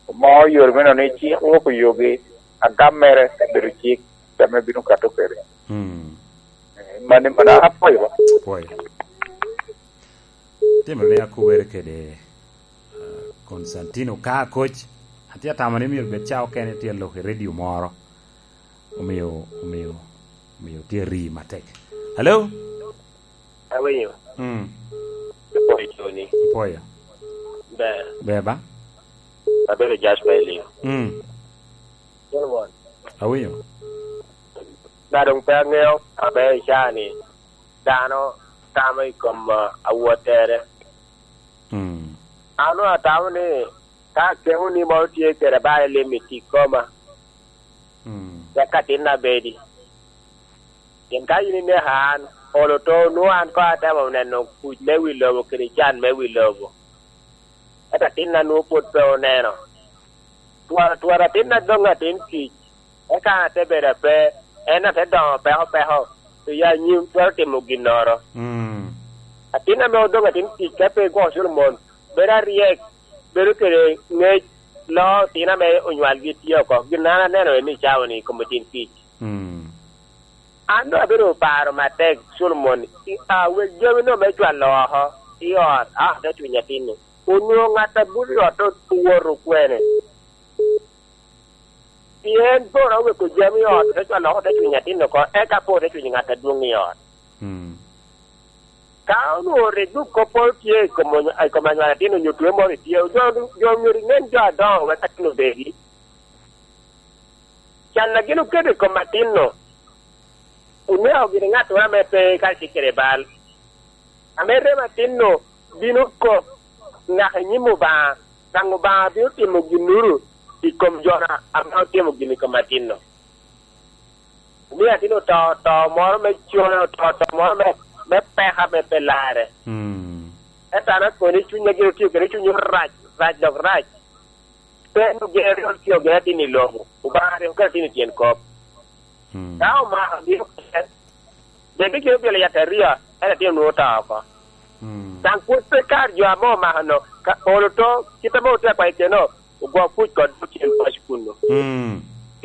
omo yore me nono ni cik wok oyogi, agam mere obedo cik, ame bino kato kede. Mm. Eh, mani, mani apwoyo. Apwoyo. Timere ni akubere kede, ah, Constantino ka akoc. Atye atamo ni myero bed ca okene tye lok i redio moro. Omio, omio, omio tye ri matek. Hello? Awinyo. Mm. Apwoyo Tony. Apwoyo. Ber. Ber ba? Abedo Jasper Elio. Mm. Solomon. Awinyo. Na doŋ pe aŋeo aber i caa-ni, dano tamo i kom, ah, awottere. Mm. An doŋ atamo ni ka akemo ni moro tye kede ba ilim i tic koma, mm, wek atinna bedi. Pien ka in ineka an, olo to nwoŋo an koŋ atemo neno kuc me wi lobo kede can me wi lobo. Ento atinna nwoŋo pwod pe oneno. Twara, twara atinna doŋ atin kic, eka an ate bedo ape, en ate doŋo peko peko, i anyim twero timo ginnoro. Mm. Atin ame odoŋ atin kic ka pe gwoko Solomon, bedo aryek, bedo kede ŋec, loo otino ame onywalgi tye oko. Gin an aneno en i cawa-ni i kom atin kic. Mm. An doŋ abedo paro matek, Solomon, i, a, wek jami no me cwalo oko i ot, a, te cwiny atin-ni. Onwoŋo ŋat a buto i ot owoto kwene? Pien Poro oweko jami i ot, te cwalo oko, te cwiny atin oko, eka po te cwiny ŋat adwoŋ i ot. Mm. Ka onwoŋo rik duk kopporo tye i kom, i kom anywalo atin onyo twe moro itye, jo, jo myero inen jo adoŋo wek atin obedi. Can a gin oketo i kom atin-nu, oneko gini ŋattoro ame pe kacel kede bal. Ame remo atin-nu bino kok naka i nyim Obaŋa, daŋ Obaŋa bino timo ginnoro i kom jo-na ame otimo gin i kom atin-nu. Omio atin oto, to moro me cone, oto, to moro me, me peko ame pe larre. Mm. Ento an akoni, cunya gin otio kede cuny orac, rac dok rac. Pe en ogero, otio gin atin i lobo. Obaŋa rik oketo atin i tyen kop. Mm. Ka omako gin oker, bed ni gin obyelo yataria, en atin onwoŋo oto oko. Mm. Daŋ pwod pe kar jo ame omako no, ka olo to, kit ame otye akwayo keno, ogwok kuc kod tyen paco kunnu. Mm.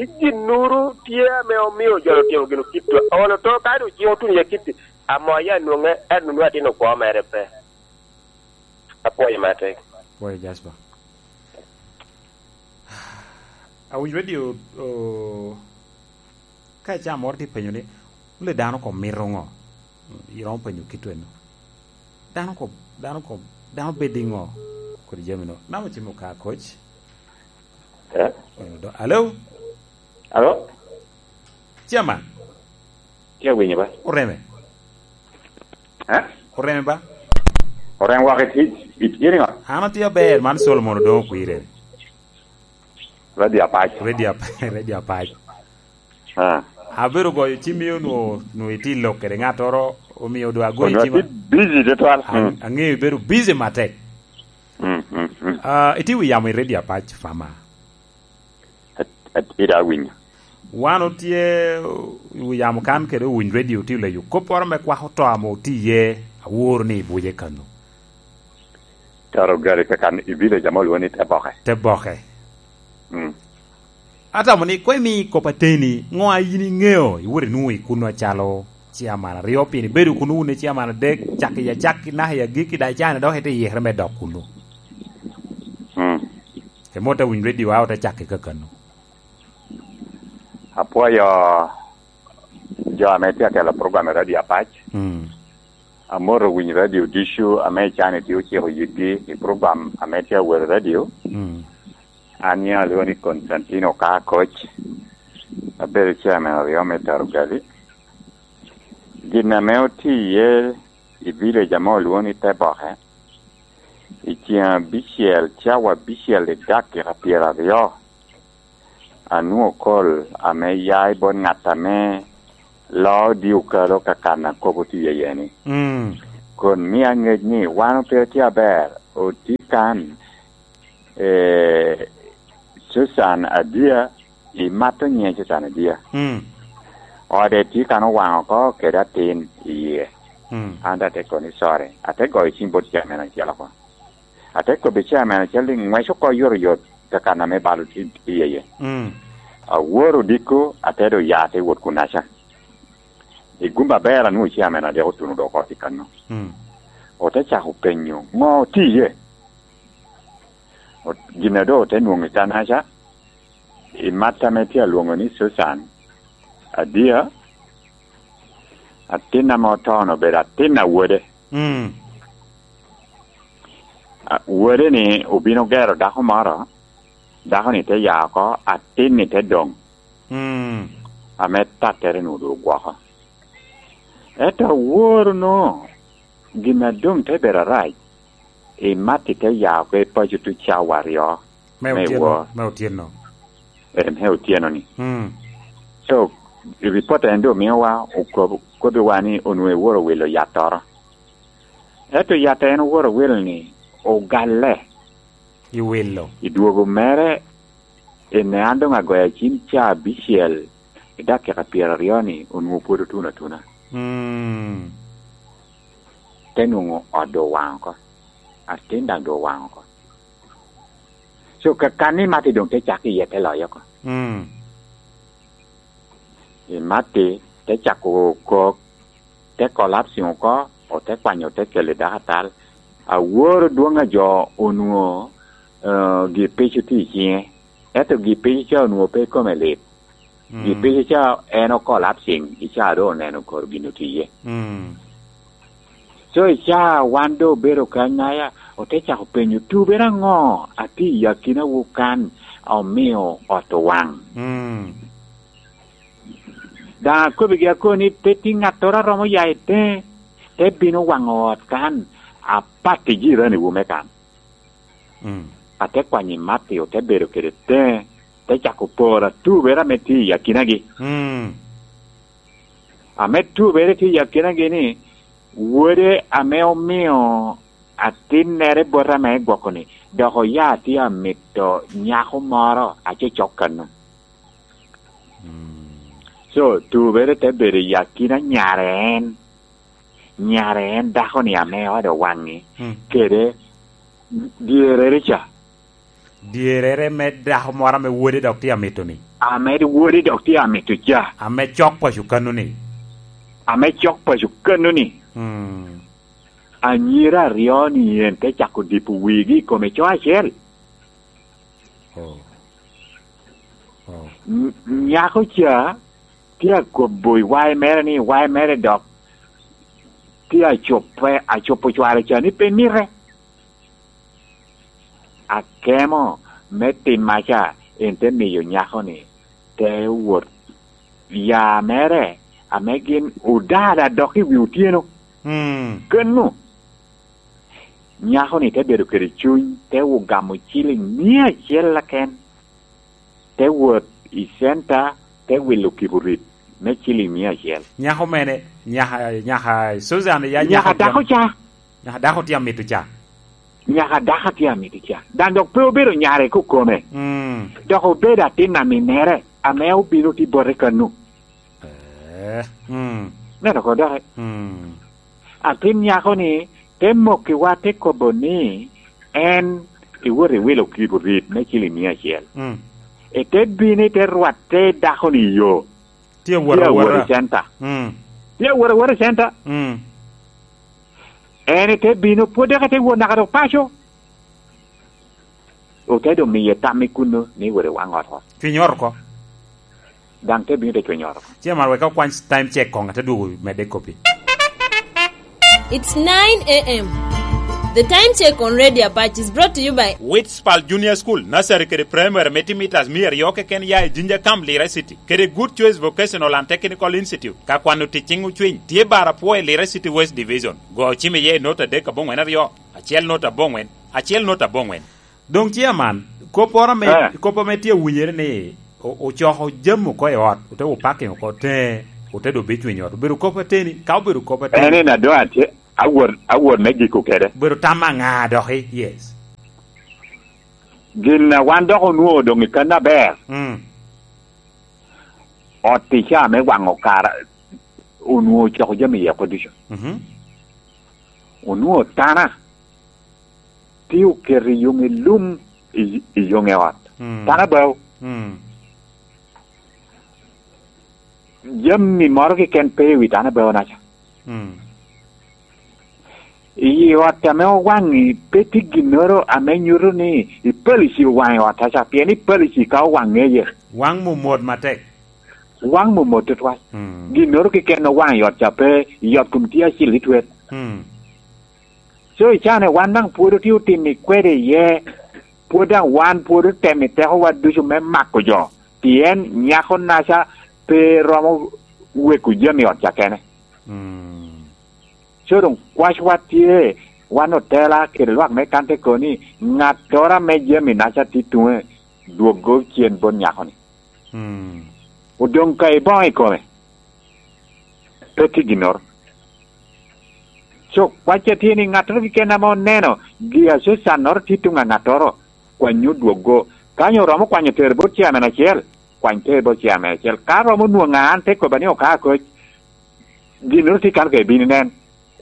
Ginnoro tye ame omio jo otimo gin okitto. Olo to ka doŋ cik otuno i akitto, amo aye anwoŋe, ento nwoŋo atino kwo mere pe. Apwoyo matek. Pwoyo, Jasper. Awinyo radio, o, ka icaa moro tye penyo ni, "Wule dano kom mito ŋo?" Iromo penyo kit eno. Dano kom, dano kom, dano bed i ŋo? Kodi jami no. Namo cimo ka, Coach? Eh? Alo? Alo? Chairman? Tye awinyo ba? Oreme? Eh? Oreme ba? Oreme wak i tic, i tic iriŋo? An atye aber, man Solomon Odongo Kwirere. Radio Apac. Radio Ap-, Radio Apac. Ah. Abedo goyo cimmi onwo, onwo itye i lok kede ŋattoro, omio dwa agoyo cimma. Onwo atye busy tutwal. Ang-, mm, aŋeyo ibedo busy matek. Mm, mm, mm. Ah, itye wi yamo i Radio Apac, Fama. At-, at-, ira awinyo. Wan otye, uh, i wi yamo kan kede owiny radio tye leyo kopporo me kwako to ame otye iye, aworo ni i buce kano. Taro gari kakan i village ame olwongo ni Teboke. Teboke. Mm. Atamo ni, koŋ imi kop ateni, ŋo a in iŋeo, iwoto inwoŋo i kuno acalo chairman aryo, pien ibedo kuno wun i chairman adek, cak i acakki naka i agikki, daŋ icano dok ite yikere me dok kuno. Mm. Emoto awiny radio a ote cakki kakano. Apwoyo jo ame tye atelo program i Radio Apac. Mm. Amoto winyo radio ducu ame i can itye ociko yitgi i program ame tye awot i radio. Mm. An nyiŋa alwongo ni Constantino Kakoc. Abedo chairman aryo me Taro Gali. Gin ame otye iye i village ame olwongo ni Teboke, i ceng abicel, cawa abicel i dakika pyeraryo, anwoŋo kol ame ya i bot ŋat ame loo di okalo ka kan a kop otye iye ni. Mm. Kon mia ŋec ni wan pe otye aber, otye kan, eh, Susan Adia, imato nyiŋe Susan Adia. Mm. Ode tye kan owaŋ oko kede atin i yie. Mm. An daŋ ate koni, "Sorry." Ate goyo cim bot chairman acel oko. Ate kobbi chairman acel ni, "Ŋwec oko yotoyot ka kan ame bal otye iye." Mm. Awor odiko, ate doŋ ya, ate wot kunaca. I gum aber anwoŋo chairman adek otuno doŋ oko i kanno. Mm. Ote cako penyo, "Ŋo otye iye?" Ot-, gin a doŋ ote nwoŋo i kanaca, i mat ame tye alwoŋo ni Susan, Adia, atin ame oto-nu obedo atin a wode. Mm. A, wode-ni obino gero dako moro, dako-ni te ya oko, atin-ni te doŋ. Mm. Ame tattere-nu doŋ ogwoko. Ento aworo no, gin a doŋ te bedo arac, i mat-ti te ya oko i paco tuŋ cawa aryo me otyeno, wor. Me otyeno. Eh, me otyeno-ni. Mm. So, i ripot en doŋ miowa, okob-, kobbiwa ni onwoŋo eworo wilo yattoro. Ento yat a en oworo wilo-ni ogalle. I wilo. I dwogo mere, en an doŋ agoyo acim ca abicel i dakika pyeraryo-ni, onwoŋo pwod otuno atuna. Mm. Te nwoŋo ot doŋ owaŋ oko. Atin daŋ doŋ owaŋ oko. So, ka, ka ni Mati doŋ te cak iye te loyo oko. Mm. I Mati te cako kok, te collapsing oko, ote kwanyo, ote kelo i dako atal. Aworo dwoŋ a jo onwoŋo, eh, gi pico tye i ciŋe. Ento gi pico ca onwoŋo pe i kome lit. Mm. Gi pico ca en o collapsing, i ca doŋ oneno kor gin otye iye. Mm. So, i ca wan doŋ obedo kany aya, ote cako penyo, "Tubere aŋo atye i akinawu kan a omio ot owaŋ?" Mm. Daŋ akobbigi akoni, pe tye ŋattoro a romo ya i teŋe, te bino waŋo ot kan, apat i jiraniwu me kan. Mm. Ate kwanyo i Mati, ote bedo kede teŋe, te cako poro atubere ame tye i akinagi. Mm. Ame tubere tye i akinagi ni, wode ame omio atinnere bota ame gwoko-ni, dok oya tye amito nyako moro acecok kano. Mm. So, tubere te bedo i akina nyare en, nyare en dako-ni ame ode owaŋ-ŋi, mm, kede dyerere ca. Dyerere me dako moro ame wode dok tye amito-ni. Ame wode dok tye amito ca. Ame cok paco kano-ni. Ame cok paco kano-ni. Mm. Anyira aryo-ni en te cako dipo wigi i kome co acel. Oh. Oh. Ny-, nyako ca tye akobo i wae mere ni wae mere dok tye acope, acopo cware ca ni pe mite. Akemo me timmaca en te miyo nyako-ni te wot ya mere ame gin odada dok i wi otyeno. Mm. Kenu, nyako-ni te bedo kede cuny, te ogamo ciliŋ mia acel keken, te wot i centa, te wilo kiburit me ciliŋ mia acel. Nyako mene? Nyaka, nyaka Susan ya nyaka dako ca. Nyaka dako tye amito ca. Nyaka dako tye amito ca. Dan dok pe obedo nyare kokome. Mm. Dok obedo atin aminere ame obino tye bote kanu. Eh, mm. Neno ko doki. Mm. Atin nyako-ni te mokkiwa, te kobo ni en iwot iwilo kiburit me ciliŋ mia acel. Mm. Ete bino, ite rwatte dako-ni i yo. Tye awot awota i centa. Mm. Tye awot awota i centa. Mm. En ite bino, pwod dok ite wot naka dok paco. Ote doŋ miye tam i kuno ni wot i waŋ ot oko. Cwiny ot oko. Daŋ te bino te cwiny ot oko. Chairman, wek okwany time check koŋ, ate dwogo medde kop-pi. It's nine a m. The time check on Radio Apache is brought to you by Witspal Junior School, Nursery kede Primary me tye mitas mia aryo keken ya i Jinja Camp, Lira City, kede Good Choice Vocational and Technical Institute. Ka kwano tic ciŋ ocwiny, tye bar apwo i Lira City West Division. Go ocim iye i nota adek aboŋwen aryo, acel nota aboŋwen, acel nota aboŋwen. Doŋ chairman, kopporo ame, eh, kop ame tye awinyere ni o-, ocoko jami oko i ot, ote wo parking oko teŋe, ote doŋ bicwiny ot. Obedo kop ateni? Ka obedo kop ateni, en en adwa tye, awot, awot me giko kede. Obedo tam aŋa doki? Yes. Gin a wan dok onwoŋo doŋ i kan aber. Mm. Ot i caa me waŋo kara onwoŋo ocoko jami iye oko ducu. Mhm. Onwoŋo tana tye oketo i yoŋe lum i, i yoŋe ot. Mm. Tana bao. Mm. Jami moro keken pe i wi tana bao naca. Mm. I ot ame owaŋ-ŋi pe tye ginnoro ame nyuto ni i palici owaŋ i ot aca, pien i palici ka owaŋ ŋeye. Waŋ mom mot matek. Waŋ mom mot tutwal. Mm. Ginnoro keken owaŋ i ot ca pe, i ot kom tye acil i twet. Mm. So i caa-ni wan daŋ pwod otye otimo kwede iye, pwod daŋ wan pwod otemo i tekowa ducu me mako jo, pien nyako naca pe romo weko jami i ot ca kene. Mm. So doŋ kwacwa tye, wan otela kede lwak me kan te kobo ni, ŋattoro ame jami naca tye tuŋe, dwoggo cen bot nyako-ni. Mm. Odoŋ ka iboŋo i kome, pe tye ginnoro. So, kwacca tye ni ŋattoro keken ame oneno gi aco cannoro tye tuŋ a ŋattoro, kwany odwoggo. Ka nyo oromo kwanyo tero bot chairman acel, kwany tero bot chairman acel. Ka romo nwoŋo an te kobba ni oka koc, ginnoro tye kan ka ibino inen,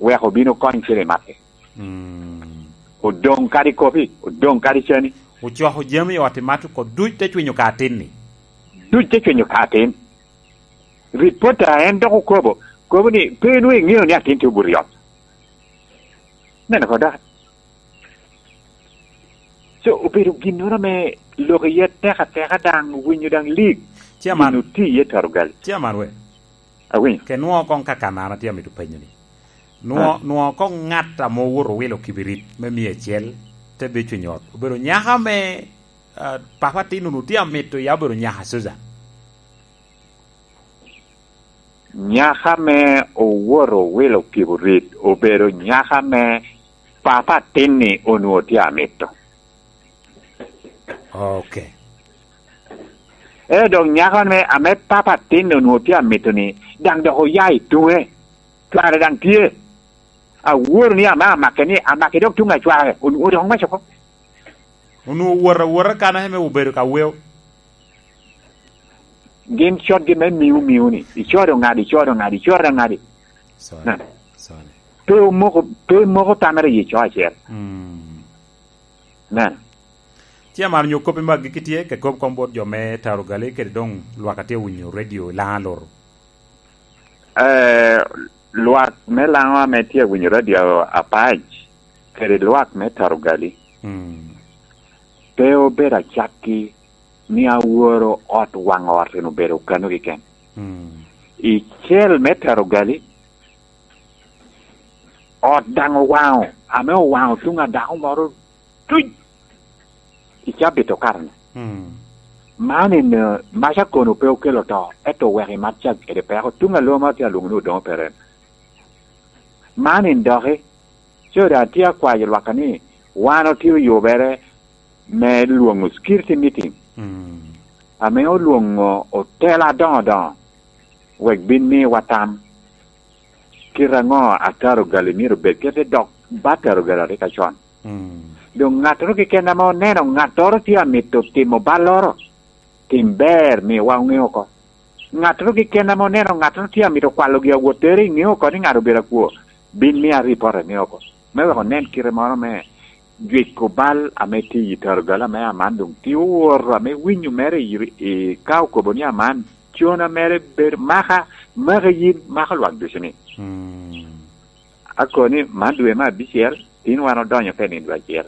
wek obin okony cen i matte. Mm. Odoŋ kadi kopi, odoŋ kadi cani. Ocoko jami i ot i mat oko duc te cwinyo ka atin-ni. Duc te cwinyo ka atin. Ripota en dok okobo, kobo ni, "Pe nwoŋo iŋeo ni atin tye obuto i ot." Neno ko dok. So, obedo ginnoro ame lok iye tek ateka daŋ, winyo daŋ lig. Chairman. Gin oti iye taro gali. Chairman we. Awinyo. Ke nwoŋo koŋ ka kan an atye amito penyo ni. Nwoŋo, ah, nwoŋo koŋ ŋat ame owoto owilo kibirit me mia acel te beco i ot. Obedo nyaka ame, ah, papa atin onwoŋo tye amito ya obedo nyaka Susan. Nyaka ame owoto owilo kibirit obedo nyaka ame papa atin-ni onwoŋo tye amito. Ok. Ento dok nyako ame, ame papa atin onwoŋo tye amito-ni, daŋ dok oya i tuŋe. Cware daŋ tye. Aworo ni ame amake ni, amake dok tuŋ a cware, onwoŋo dok oŋwec oko. Onwoŋo wot awota kan ame obedo ka weo. Gin cotgi me miu miu ni, icodo ŋadi, icodo ŋadi, icodo ŋadi. Sorry. Neno. Sorry. Pe omoko, pe moko tamere i co acel. Mm. Neno. Tye amaro nyo kop me agikki tye, ke kop kom bot jo me Tarugali, kede doŋ lwak a tye winyo radio i Laŋa Loro. Eh, lwak me Laŋo ame tye winyo radio apac, kede lwak me Tarugali, Mm. pe obedo acakki ni aworo ot waŋ ot en obedo kano keken. Mm. I cel me Tarugali, ot daŋ owaŋo, ame owaŋo tuŋ a dako moro tuc i cabit okato-ni. Mm. Man en, eh, mac akono pe okelo to, ento oweko i mac cak kede peko. Tuŋ a lwoma tye alwoŋo ni Odoŋo Peren. Man en doki, co daŋ tye akwayo lwakka ni wan otye oyubere me lwoŋo security meeting, Mm. ame olwoŋo otela adoŋo doŋo, wek bin miwa tam. Kite aŋo a Tarugali myero obed kede dok ba Tarugali arika con? Mm. Doŋ ŋattoro keken ame oneno ŋattoro tye amito timo balloro, tim ber, miwa oŋe oko. Ŋattoro keken ame oneno ŋattoro tye amito kwalo gi awottere, iŋe oko ni ŋat obedo akwo, bin mia ripot, iŋe oko. Me wek onen kite moro me jwiko bal ame tye i Tarugali ame aman doŋ tye owoto, ame winyo mere i, i, ka okobo ni aman, cona mere bedo maka, maka yin, maka lwak ducu ni. Mm. Akoni, man dwe me abicel, tin wan odonyo ka i nino dwe acel.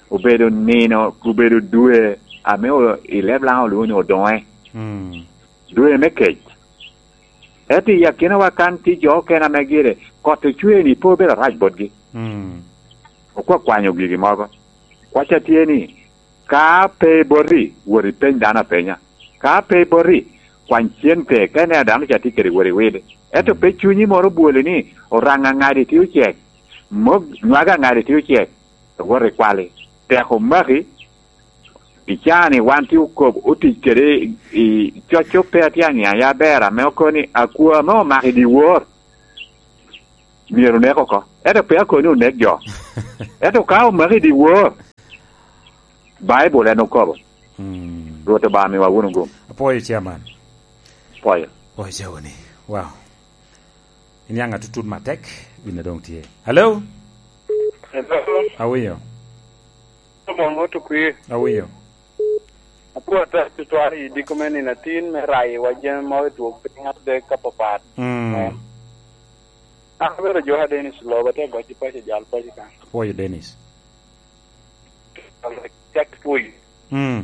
Obedo nino, obedo dwe ame o-, i leb Laŋo olwoŋo ni Odoŋe. Mm. Dwe me kec. Ento i akinawa kan tye jo okene ame gire kot ocwe-ni pe obedo arac botgi. Mm. Okwakwanyo gigi mogo. Kwacca tye ni, ka pe boti, wot ipeny dano apenya. Ka pe boti, kwany cente, ka ineno dano ca tye kede, wot iwil. Ento pe cunyi moro obwoli ni oraŋ aŋadi tye ocek, mok nwago aŋadi tye ocek, wot ikwali. Tek omaki, i caa-ni wan tye okob otic kede i, i coco pe atye aŋeya ya aber, ame okobo ni akwo ame omako i dyewor myero onek oko. Ento pe akobo ni onek jo. Ento ka omaki i dyewor, Baibul en okobo. Mm. Rwot Obaŋa miwa wunu gum. Apwoyo, Chairman. Apwoyo. Apwoyo, Chairman. Wow. Iniaŋ atutut matek, gin a doŋ tye. Hello? Hello? Awinyo. Oboŋo tukwi. Awinyo. Apwoo ata tutwal i diko me nino atin me rayo wa jami mogo i twok piny adek ka papat. Mm. An abedo Joka Dennis Lobo, atye goc i paco, jal paco kan. Apwoyo, Dennis. Cak pwoyo. Mm.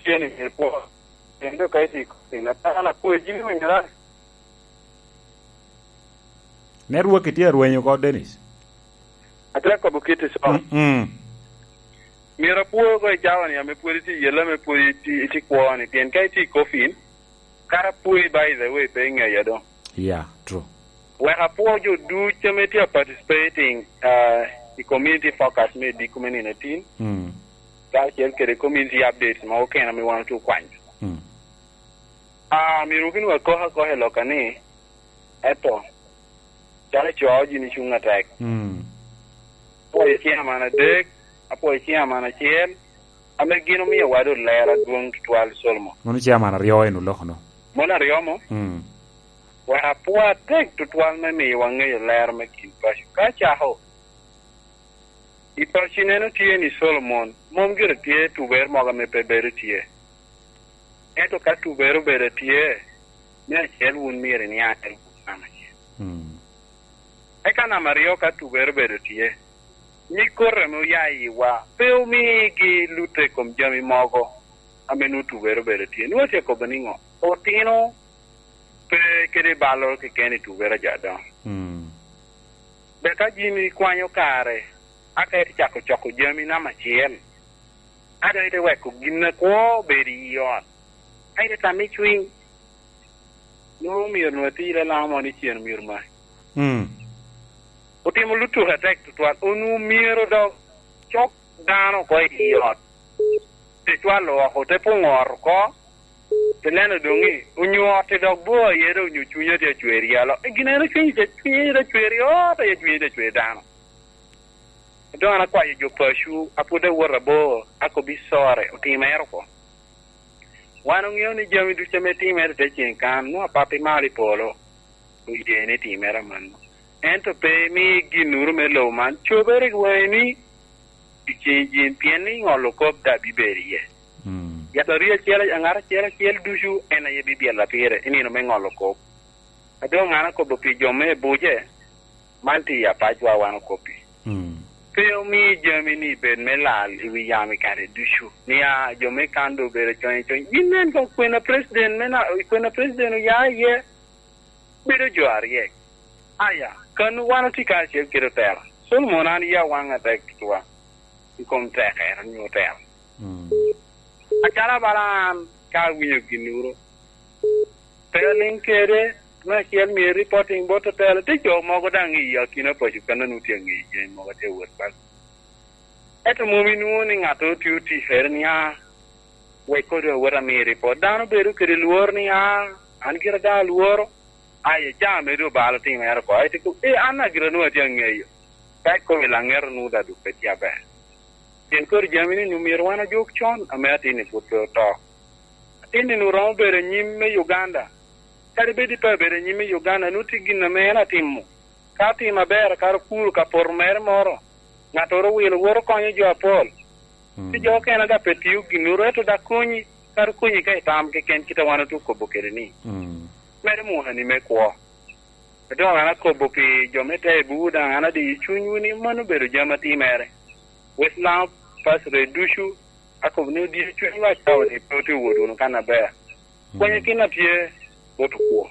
Tye ni myero pwo. Kendo ka iti koti na tana pwoyo jini winyora. Network itye arwenyo oko, Dennis. Atye kobo kit ico. Mm, mm. Myero apwo oko i cawa ni ame pwod itye i yella, ame pwod itye, itye kwo ni. Pien ka itye i coffin, kara pwoyi, by the way, pe iŋeya doŋ. Yeah, true. Wek apwo jo ducu ame tye a participating, uh, i community focus me diko me nino atin. Mm. Kacel kede community updates mogo kene ame wan otye okwanyo. Mm. Ah, myero gin wek kok akoka i lokka ni, eto, calo ico, gin icuŋ atek. Mm. Apwoyo chairman adek, apwoyo chairman acel, ame gin omio wa doŋ lero adwoŋ tutwal, Solomon. Mano chairman aryo en oloko no. Mano aryo mo? Mm. Wek apwo atek tutwal me miyo wa ŋeyo lero me kin paco. Ka acako, i paco ineno tye ni Solomon, mom gire tye tubere mogo ame pe bedo tye. Ento ka tubere obedo tye, me acel wun myero iniaŋ en kuno namba acel. Mm. Eka namba aryo, ka tubere obedo tye, nyig koti ame oya i yiwa pe omigi lutte i kom jami mogo ame nwoŋo tubere obedo tye. Nwoŋo tye kobo niŋo? Otino pe kede balloro keken i tubere a jo adoŋo. Mm. Dok ka jami ikwanyo kare, aka ite cako coko jami namba acel, aka ite weko gin akwo bedo i ot, ka ite tamo i cwiny, nwoŋo myero nwoŋo atir alamo ni cen myero maki. Mm. Otimo lutuku atek tutwal, onwoŋo myero dok cok dano oko i ot, te cwalo oko, te pwoŋo ot oko, te neno doŋ ni onyo ot-ti dok bor aye, dok onyo cwinye tye acwer i alo. E, gin en cwinye tye, cwinye tye acwer i ot, aye cwinye tye acwer i dano. Doŋ an akwayo jo paco, a pwod awot abor, akobbi, sorry, otimere oko. Wan oŋeo ni jami ducu ame timere i te ceŋ kan, nwoŋo Papawa ame malo i polo oye ni timere amanno. Ento pe imi ginnoro me lobo man cobere i waŋi ni, i ceŋ jin, pien ni ŋolo kop daŋ bibedo iye. Yat aryo acel, ŋat acel acel ducu en aye bibyella pire i nino me ŋolo kop. A doŋ an akobo pi jo me Abuja, man tye i apacwa wan okobbi. Pe omi jami-ni bed me lal i wi yam i kare ducu, ni a jo me kan doŋ obedo conyo conyo. Gin nen koŋ kwena president me na, kwena president oya iye, bedo jo aryek. Aya, kan wan otye kacel kede otela. Solomon, an yia waŋ atek tutwa i kom tekere onyo otela. Acalo bala an, ka awinyo ginnoro, pe aliŋ kede, me acel mio reporting bot otela, tye jo mogo daŋ i akina paco kan a nwoŋo tye aŋeyo jami mogo atye awot baŋ. Ento mom inwoŋo ni ŋattoro tye oticere ni, "Ah, wek kodo awot amiyo ripot." Dano bedo kede lworo ni, "Ah, an gira daŋ alworo." Aye, ca medo obalo timere oko. Aye tye ko, "Eh, an a gira nwoŋo atye aŋeyo." Ka ikobo i laŋet onwoŋo daŋ dok pe tye aber. Pien kodi jami-ni onwoŋo myero wan ojuk con, ame atin-ni pwod pe oto. Atin-ni onwoŋo romo bedo anyim me Uganda. Kadi bed pe abedo anyim me Uganda, nwoŋo tye gin ame en atimo. Ka otimo aber, kara okuro ka poto mere moro, ŋattoro owilo, woto konyo jo apol. Ci jo okene daŋ pe tio ginnoro, ento daŋ konyi, kara okonyi ka itam keken, kit a wan otye okobo kede ni. Medo mwakani me kwo. A doŋ an akobo pi jo me Taibu daŋ, an adiyo cunywu ni mano obedo jami atimere. West Lango Pastor ducu, akobo ni odiyo cunywu, acawa ni pe otye wot wunu kan aber. Pwonyo gin a tye bot okwo.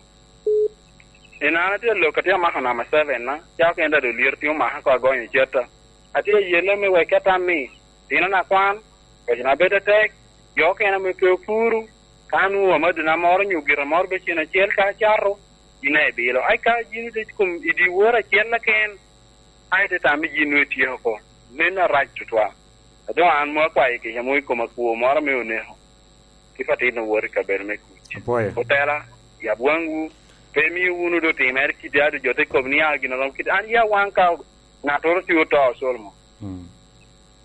En an atye alok, atye amako namba seven na, ca okene daŋ olyero tye omaka ko agonyo cata. Atye ayelle me wek atam ni, tinona kwan, pecona bedo atek, jo okene ame pe opuro, ka nwoŋo amadina moro nyo gira moro be cen acel ka acato, yin a ibilo. Ai ka yin ite kom i dyewor acel keken, ai te tam ni yin nwoŋo ityeko oko. Meno arac tutwal. A doŋ an mom akwayo kica mom i kom akwo moro ame oneko. Kit atin owot i kabedo me kuc. Otela, yab waŋwu, pe imio wunu doŋ timere kidi ado jo te kobo ni, "Ah, gin oromo kidi." An ya waŋ ka ŋattoro tye oto, Solomon.